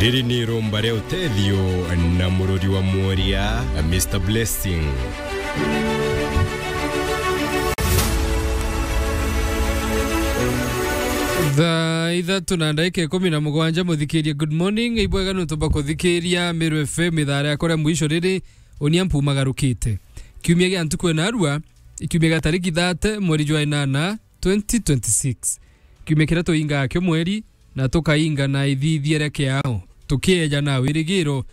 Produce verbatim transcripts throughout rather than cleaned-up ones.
Riri ni irumba ria utethio na mururi wa mworia, Mister Blessing. Thaa ithatu na ndagika ikumi na mugwanja, muthikiria, good morning. Ibwega nontu bwa kuthikiria Meru F M ithaa riakwa ria mwisho riri, unia mpumagarukite. Kiumia gia ntuku ena arua, kiumia gia tariki thirty, mweri jwa inana, twenty twenty-six. Kiumia kiria tuingaa kio mweri, na tukainga na ithithia ria kiao, tukieja na wirigiro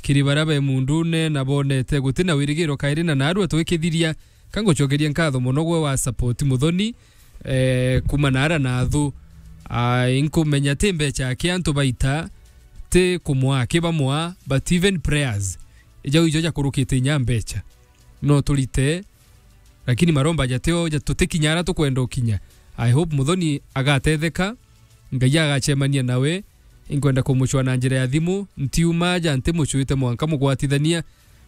kiri baria be mundune na bonete guti na wirigiro kairi na narua twikithiria. Ka ngucokeria nkatho mono gwe wa support Muthoni, eh, kuma nara na thu. Ah, inkumenya ti mbecha aki antu baita, ti kumwa aki bamwa, but even prayers, ijau ijo jakurukite inya mbecha. No turite, lakini maromba jatio ja-, tutikinya ara tukwenda ukinya. I hope Muthoni agatetheka, Ngai agacemania nawe. Inkwenda kumucwa na njira ya thimu, ntiuma aja ntimucwite mwanka mugwatithania,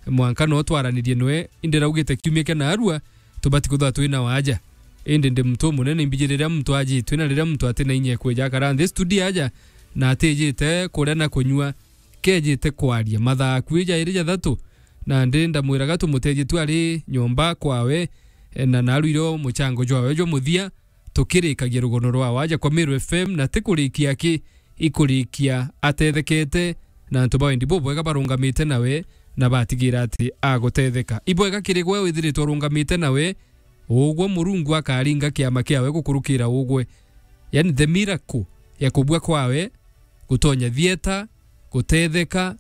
mwanka no twaranirie nwe. Indi raugite kiumia kia narua, tubati kuthwa twina waja. Indi ndi muntu umunene, imbiji riria muntu ajitwe na riria muntu atina inya ekweja akara nthi studio aja, na atijite kuria na kunyua, kejite kwaria. Mathaa akui jairi jathatu, na ndi ndamwiraga tumutethie tu ari nyomba kwawe, e, na narwire o muchango jwawe jwa muthia, tukirikagia rugono rwa waja kwa Meru F M, na ti kurikia aki, ikurikia atethekete, na antu ba wendi bubwega barungamite nawe, na batigira ati agutetheka. Ibwega kiri gwe withiritwe urungamite nawe, ugwe Murungu akaringa kiama kiawe gukurukira ugwe. Yani the miracle ya kubua kwawe, gutonya thieta, gutetheka,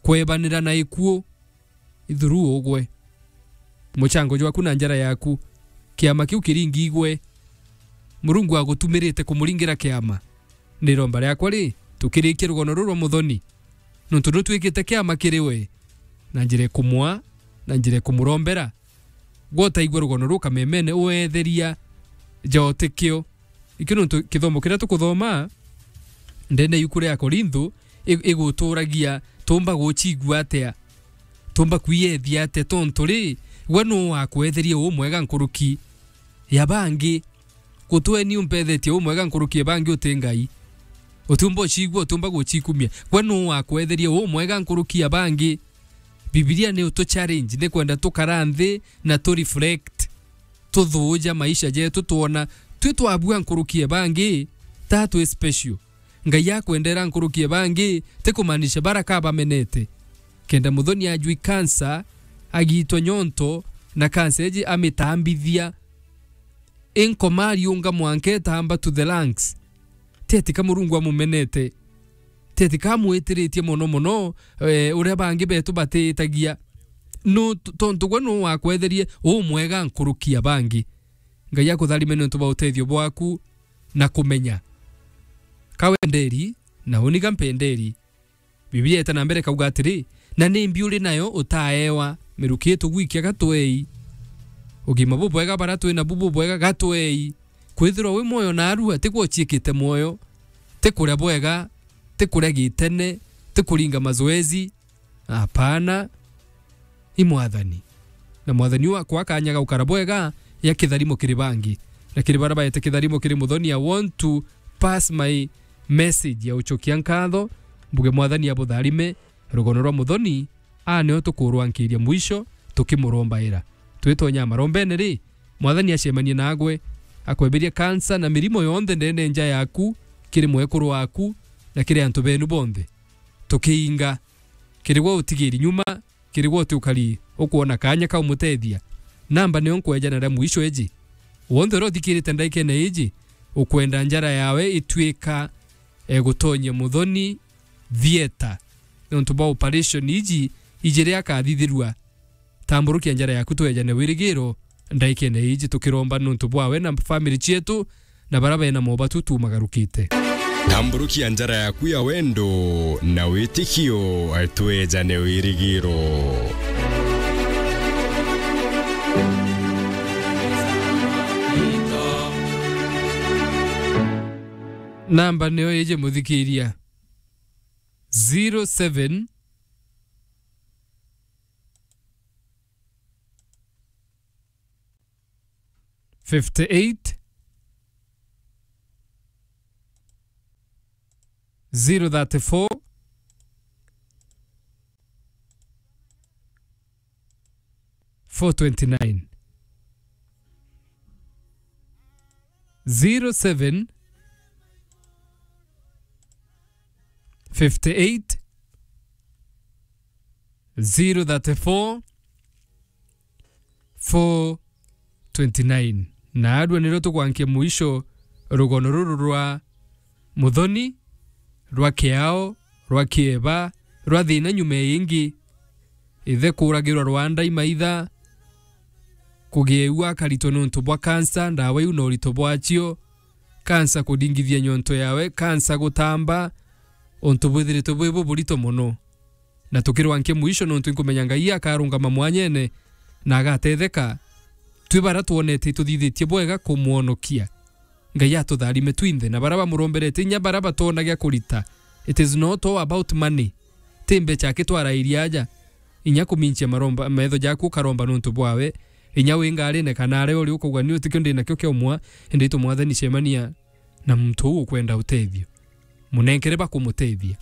kwebanira na ikuu, ithuru ugwe. Muchango jwaku na njara yaku, kiama kiu kiringi igwe. Murungu agutumirite kumuringira kiama. Ni iromba riakwa ri, tukirikie rugono ruru rwa Muthoni. Nontu nutwikite kiama kiri we, na njira ikumwa, na njira ikumurombera. Gwe utaigua rugono ruu kamemene, uetheria ja utikio. Ikio nontu kithomo kiria tukuthoma ndene ya iuku ria Akorintho, i-, iguturagia, tumba gucigua atia? Tumba kwiethia atia? Tontu ri, gwe nuu wakwetherie umwega nkuruki ya bangi? Gutwe ni umpethetie umwega nkuruki ya bangi uti Ngai. Utiumba ucigua, utiumba gucikumia. Gwe nuu wakwetherie umwega nkuruki ya bangi? Bibilia ni utu challenge, ni kwenda tukara nthi na tu reflect, tuthuuja maisha jetu, twona twi twabua nkuruki e bangi, ta twi special. Ngai akwendera nkuruki e bangi, ti kumaanisha bara ka bamenete. Kenda Muthoni ajwi kansa, agitwa nyonto, na kansa eji amitambithia, inkoma ariunga mwanka etamba to the lungs. Ti ati ka Murungu amumenete. Ti ati ka amwitiritie mono mono, eh, uria bangi betu batiitagia. Nu-, t-, tontu gwe nuu wakwetherie umwega nkuruki ya bangi. Ngai akutharime niuntu bwa utethio bwaku na kumenya. Ka wenderi, na uni ga mpenderi. Bibilia ieta na mbere ikauga atiri, "Na nimbi uri nayo utaewa? Miruki itu gwikia gatwei. Ugima bubwega bara twi nabu bubwega gatwei." Kwithirwa wi mwoyo naarua, ti gwe uciikite mwoyo, ti kuria bwega, ti kuria gitene, ti kuringa mazoezi. Apana. I Mwathani. Na Mwathani uu akwa kanya ga gukara bwega ya kitharimo kiri bangi. Na kiri baria baete kitharimo kiri Muthoni, I want to pass my message ya ucokia nkatho, mbuge Mwathani abutharime, rugono rwa Muthoni, aa nio tukurwankiria mwisho, tukimurombaira. Twitonya marombene ri, Mwathani acemanie naagwe, akweberia kansa na mirimo yonthe ndene nja yaku, kiri mwekuru waku, na kiri antu benu bonthe. Tukiinga, kiri gwe utigiri nyuma, kiri gwe uti ukari ukwona kanya ka umutethia. Namba nio nkweja naria mwisho iji. Wonthe uria uthikirite ndaikene iji, ukwenda njara yawe itwika egutonyia Muthoni theatre, niuntu bwa operation iji ijiri akathithirua. Tamburukia njara yaku twejane wirigiro ndaikene iji tukiromba niuntu bwawe na family cietu na bara bena mobatu tumagarukite. Tamburukia njara yaku ya wendo na witikio twejane wirigiro. Namba niyo iji muthikiria. Zero seven fifty eight, zero thirty four, four twenty-nine. Zero seven fifty-eight, zero thirty-four, four twenty-nine. Na arua niro tukwankia mwisho rugono ruru rwa Muthoni, rwa Kiao, rwa Kieba, rwa thina nyuma ya ingi. Ithe kuragirwa Rwanda imaitha, kugia iu akaritwa nontu bwa kansa, ndawa iu na urito bwacio, kansa kudingithia nyonto yawe, kansa gutamba, untu bwithiritwe bwi buburito mono. Na tukirwankia mwisho, nontu inkumenya Ngai akarungama mwanyene na agatetheka. Twi bara twonete ituthithitie bwega kumwonokia. Ngai atutharime twinthe, na bara bamuromberete, inya bara batona gia kurita. It is not all about money. Ti mbecha aki twarairie aja. Inya kuminchia maromba, metho jaku ukaromba nontu bwawe. Inya wi ngarine kana aria uri ukauga, "Ni utikio ndi nakio kia umwa," indi itu Mwathani cemania na muntu uu ukwenda utethio. Munenkere bakumutethia.